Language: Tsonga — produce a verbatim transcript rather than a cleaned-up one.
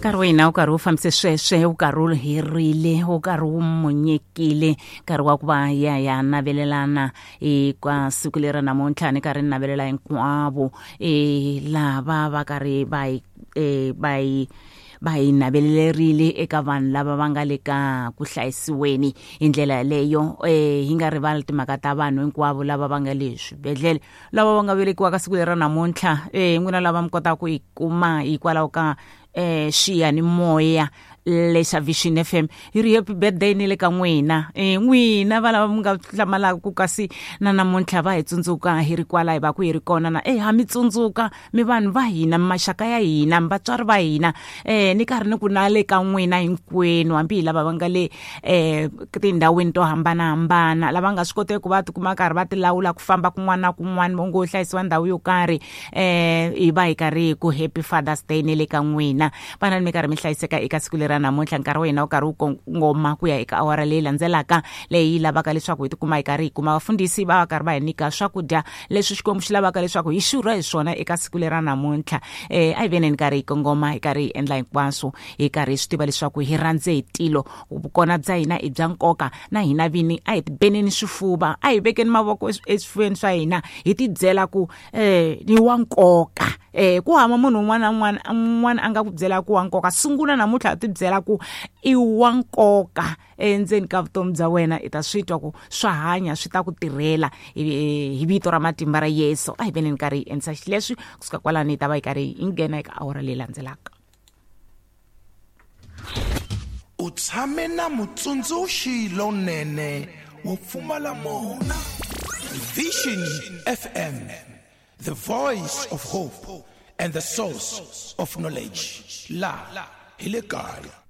Nkarhi wa hina wu karhi wu fambise sweswe, wu karhi wu herile, wu karhi wu monyekile, nkarhi wa ku va hi ya hi ya navelelana eka siku leri namuntlha. Ni karhi ni navelela hinkwavo e lava va karhi va hi e va hi va hi navelelerile eka vanhu lava va nga le ka ku hlayisiweni hi ndlela yaleyo. Eh hi nga rivali timhaka ta vanhu hinkwavo lava va nga le swibedhlele, lava va nga velekiwa ka siku leri namuntlha. Eh n'wina lava mi kotaka ku yi kuma hikwalaho ka eh xiyanimoya lexa Vision F M, hi ri happy birthday ni le ka n'wina. Eh n'wina va lava mi nga hlamalaka ku kasi na namuntlha va hi tsundzuka hi ri kwala hi va ku hi ri kona na eh ha mi tsundzuka mi vanhu va hina, mi maxaka ya hina, mi vatswari va hina. Eh ni karhi ni ku na le ka n'wina hinkwenu, hambi hi lava va nga le eh tindhawini to hambanahambana, lava nga swi koteki ku va tikuma karhi va tilawula ku famba kun'wana na kun'wana, va ngo hlayisiwa ndhawu yo karhi. Eh hi va hi karhi ku happy Father's Day ni le ka n'wina. Vana mi karhi mi hlayiseka eka siku leri namuntlha. Nkarhi wa hina wu karhi wu kongoma ku ya eka awara leyi landzelaka, leyi lavaka leswaku hi tikuma hi karhi hi kuma vafundhisi va va karhi va hi nyika swakudya leswi Xikwembu xi lavaka leswaku hi xurha hi swona eka siku leri namuntlha. Eh a hi veneni karhi hi kongoma, hi karhi hi endla hinkwaswo, hi karhi hi swi tiva leswaku hi rhandze hi tilo, vukona bya hina i bya nkoka, na hina vini a hi tibeneni swifuva, a hi vekeni mavoko eswifuveni swa hina, hi tibyela ku eh ni wa nkoka. Eh ku hama munhu un'wana na un'wana un'wana a nga ku byela ku wa nkoka, sungula namuntlha ti byela ku i wa nkoka endzeni ka vutomi bya wena, i ta swi twa ku swa hanya, swi ta ku tirhela hi vito ra matimba ra Yesu. A hi veneni karhi hi endlisa xileswi, kusuka kwalani hi ta va hi karhi hi nghena eka awara leyi landzelaka. U tshame na mutsundzuxi lonene wo pfumala mona. Vision F M, the voice of hope and the source of knowledge. La hi le kaya.